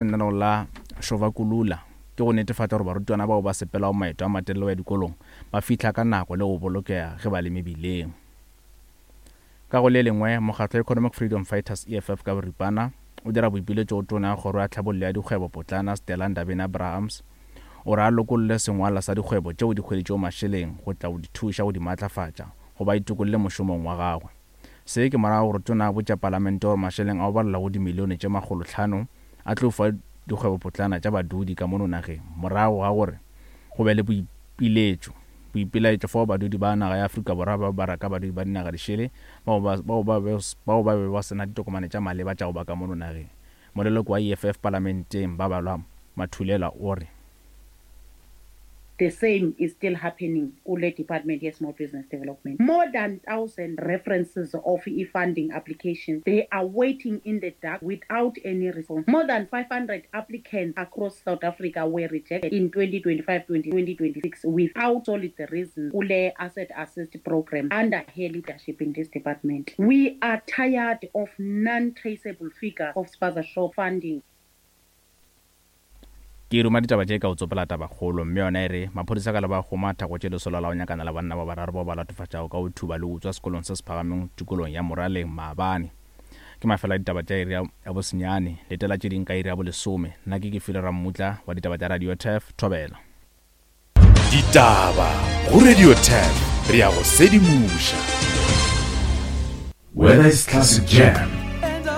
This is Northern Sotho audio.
Lenaneo la Šovakulula ke go netefatša gore barutwana bao ba sepelago maeto a matelele go ya dikolong ba fihla ka nako le go bolokega ge ba le mebileng. Ka go le lengwe, mokgatlo wa Economic Freedom Fighters, EFF ka boripana, o dira boipiletšo go Tona ya Kgoro ya Tlhabollo ya Dikgwebo Potlana Stella Ndabeni-Abrahams gore a lokolle sengwalwa sa dikgwebo tšeo di hweditšego mašeleng go tla go di thuša go di maatlafatša go ba itokolle mošomong wa gagwe. Se ke morago gore tona a botša palamente gore mašeleng a go balelwa go dimilione tše makgolohlano a tlo fiwa dikgwebopotlana tša badudi ka mono nageng morago ga gore go be le boipiletšo boipelaetšo fao badudi ba naga ya Afrika Borwa ba ba raka badudi ba dinaga dišele bao ba bao ba bao ba be ba se na ditokomane tša maleba tša go ba ka mono nageng. Moleloko wa EFF palamenteng Babalwa Mathulela o re. The same is still happening kule department ye-small business development. More than 1,000 references of e-funding applications, they are waiting in the dark without any response. More than 500 applicants across South Africa were rejected in 2025-2026 without solid reasons kule asset assist program under her leadership in this department. We are tired of non-traceable figures of spaza shop funding. Ke ruma ditaba tše ka go tsopela tabakgolo, mme yona e re, Maphodisa ka leba go matha go tše lesolo la go nyakana le banna ba bararo bao ba latofatšago ka go thuba le go utswa sekolong se se phagameng tikolong ya Moraleng maabane. Ke mafelo a ditaba tša iri ya bosenyane. Letela tše ding ka iri ya bolesome. Nna ke Kefilwe Rammutla wa ditaba tša Radio Turf. Thobela. Ditaba go Radio Turf, re a go sedimoša. Whether it's classic jam.